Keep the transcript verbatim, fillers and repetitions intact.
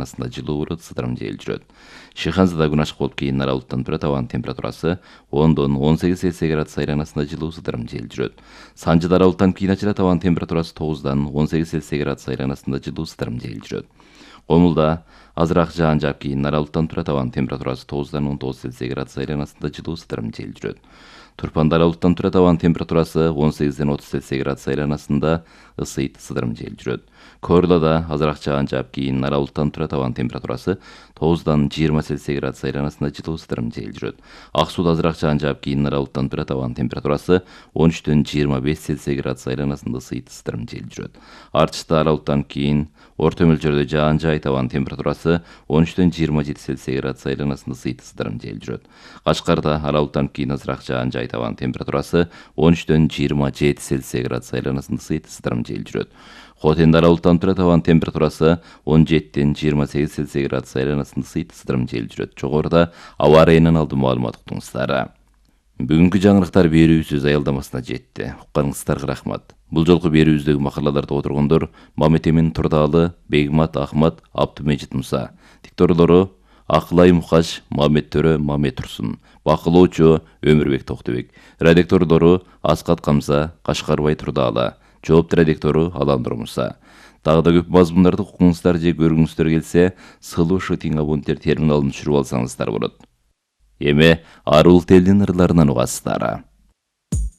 айланасында жылуу болот, сыдырым жел жүрөт. Шыханзада күн ачык болуп кийин нара булуттан турат, абанын температурасы ондон он сегиз Цельсий градус айланасында жылуу, сыдырым жел жүрөт. Санжыда ара булуттан кийин ачылат, абанын температурасы тогуздан он сегиз Цельсий градус айланасында жылуу, сыдырым жел жүрөт. Комулда азыраак жаан жаап кийин нара булуттан турат, абанын температурасы тогуздан он тогуз Цельсий градус айланасында жылуу, сыдырым жел жүрөт. Турпанда ара булуттан турат, абанын температурасы он сегизден отуз Цельсий градус айланасында ысыйт, сыдырым жел жүрөт. Корлада азыраак жаан жаап кийин нара булуттан турат, абанын температурасы тогуздан жыйырма Цельсий градус айланасында жылуу, сыдырым жел жүрөт. Ак сууда азыраак жаан жаап кийин нара булуттан турат, абанын температурасы он үчтөн жыйырма беш Цельсий градус айланасында ысыйт, сыдырым жел жүрөт. Арчыда ара булуттан кийин орто мөлчөрдө жаан жаайт, абанын температурасы он үчтөн жыйырма жети Цельсий градус айланасында ысыйт, сыдырым жел жүрөт. Качкарда ара булуттан кийин азыраак жаан жаайт, абанын температурасы он үчтөн жыйырма жети Цельсий градус айланасында ысыйт, сыдырым жел жүрөт. Хотенде ара булуттан турат, абанын температурасы он жетиден жыйырма сегиз Цельсий градус айланасында ысыйт, сыдырым жел жүрөт. Жогоруда аба ырайынан алдын маалымат уктуңуздар. Бүгүнкү жаңылыктар берүүбүз аялдамасына жетти. Укканыңыздарга рахмат. Бул жолку берүүбүздөгү макалаларда отыргондор Мамет Эмин Турдаалы, Бегмат Ахмат, Абдумежит Муса. Дикторлору Акылай Мукаш, Мамет Төрө, Мамет Турсун. Бакылоочу Өмүрбек Токтобек. Редактордору Аскат Камза, Кашкарбай Турдаалы. Жоопту редактору Аландыр Муса. Дагы да көп мазмундарды укуңуздар же көргүңүздөр келсе, сылуу шытың абоненттер терминалын түшүрүп алсаңыздар болот. Эми арул телдин ырларынан угасыздар.